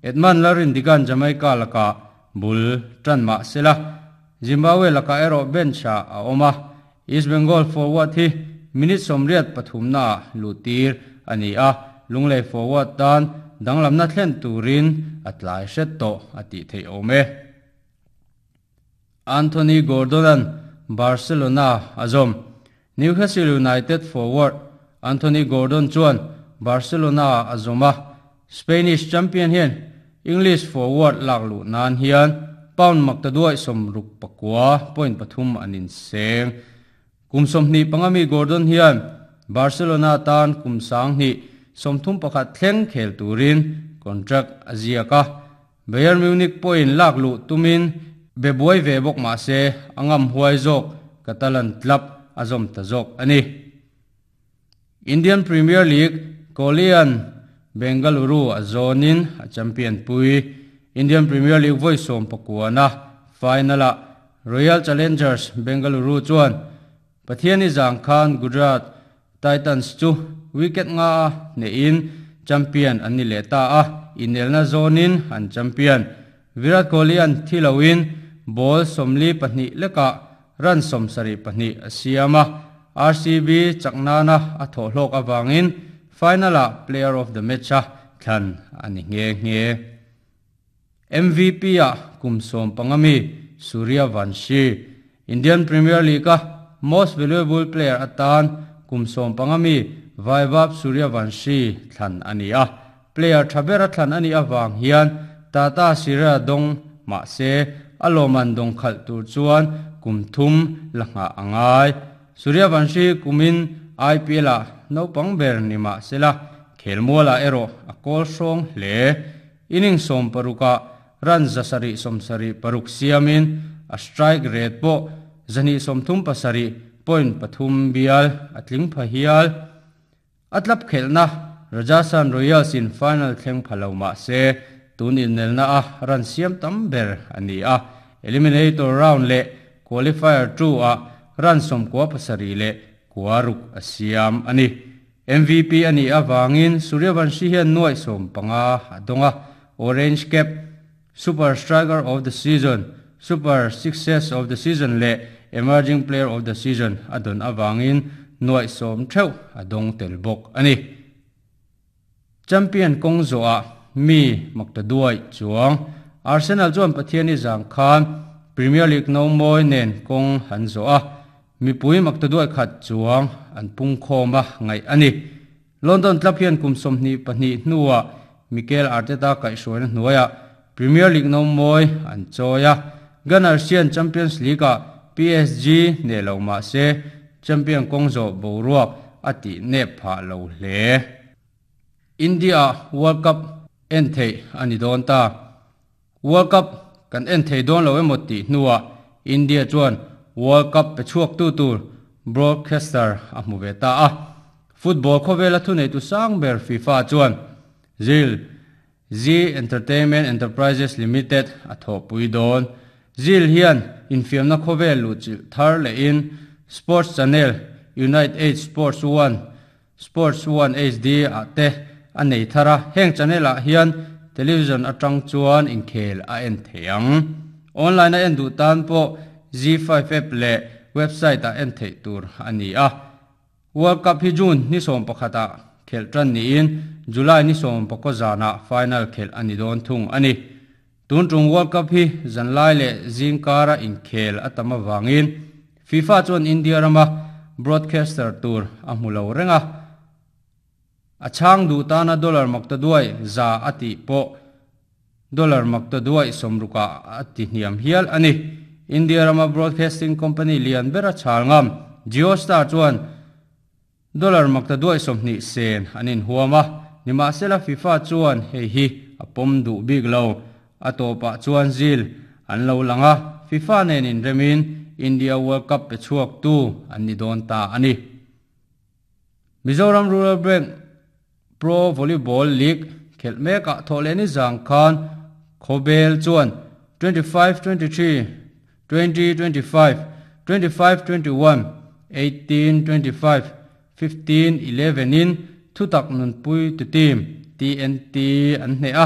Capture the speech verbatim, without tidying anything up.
Edmund Larin digan Jamaica laka bul tran ma sela Zimbabwe laka ero bencha a oma East Bengal forward hi minute somriat pathum na lutir ani a lunglei forward tan danglam na thlen turin atlai hret to ati thei ome Anthony Gordonan Barcelona azom Newcastle United forward Anthony Gordon chuan Barcelona azoma Spanish champion hian English forward laklu nan hian pound maktaduai somruk pakwa point pathum anin seng kumsom ni pangami Gordon hian Barcelona tan kumsang ni somthum pakhat thleng khel turin contract aziaka Bayern Munich point laklu tumin bebuai ve bok ma se angam huai zok Catalan club azom ta zok ani Indian Premier League Kolian Bengaluru azonin a champion pui Indian Premier League voi som pakuana finala Royal Challengers Bengaluru chuan Pathiani Zangkhan Gujarat Titans chu wicket nga ne in champion ani le ta a inelna zonin an champion Virat Kohli an thilawin ball somli pahnih leka run somsari pahnih asiama R C B chaknana a tho hlok awangin finala player of the match a thlan ani nge nge M V P a kumsom pangami Surya Vanshi Indian Premier League a most valuable player atan kumsom pangami Vaibhav Surya Vanshi thlan ani a player thabera thlan ani awang hian Tata Sira dong ma se aloman dong khal tur chuan kumthum langa angai Surya Vanshi kumin I P L a no pangber nima sela khelmola ero a kol song hle inning som paruka run zasari somsari paruk siamin a strike rate po zani somthum pasari point pathum bial atling phahial atlap khelna Rajasthan Royals in final thleng phaloma se tunin nelna a run siam tam ber ani a eliminator round le qualifier two a run som kwa pasari le kwaruk asiam ani M V P ani awangin Suryavanshi hian nuai som panga adonga orange cap super striker of the season super success of the season le emerging player of the season adon awangin nuai som theu adong telbok ani champion kongzo a mi maktaduai chuang Arsenal chuan Pathiani Zangkhan Premier League no moi nen kong hanzo a mi pui maktaduai khat chuang an pung khoma ngai ani London club hian kumsom ni pahnih hnuwa Mikel Arteta kai hruaina hnuaia Premier League no moi an choya Gunners hian Champions League a P S G ne lo ma se champion kongzo boruak ati ne pha lo hle India World Cup en thei ani don ta World Cup kan en thei don lo emoti hnuwa India chuan World Cup pe chuak tu tur broadcaster a hmu ve ta a football khawvela thu nei tu sang ber FIFA chuan Zil Z Entertainment Enterprises Limited a tho pui don Zil hian infiamna khawvel lu chil thar le in Sports Channel Unite eight Sports one Sports one H D a te a nei thara heng channel a hian television atang chuan inkhel a en theiang online a en du tan po Z five app le website a en thei tur ani a World Cup hi June ni som pakhata khel tran ni in July ni som pakozana final khel ani don thung ani tun tung World Cup hi zanlai le zingkara inkhel atama wangin FIFA chuan India rama broadcaster tur a hmulo renga a chang du tana dollar maktaduai za ati po dollar maktaduai somruka ati hniam hial ani India rama broadcasting company lian bera chalngam Geostar chuan dollar maktaduai somhni sen anin huama nima sela FIFA chuan hei hi apom du big lo atopa chuan zil an lo langa FIFA nen in remin India World Cup pe chuak tu an ni don ta ani Mizoram Rural Bank Pro Volleyball League khelmeka tholeni Zangkhan Khobel chuan twenty-five twenty-three twenty twenty-five twenty-five twenty-one eighteen twenty-five fifteen eleven in thutak nun pui tu team T N T an hne a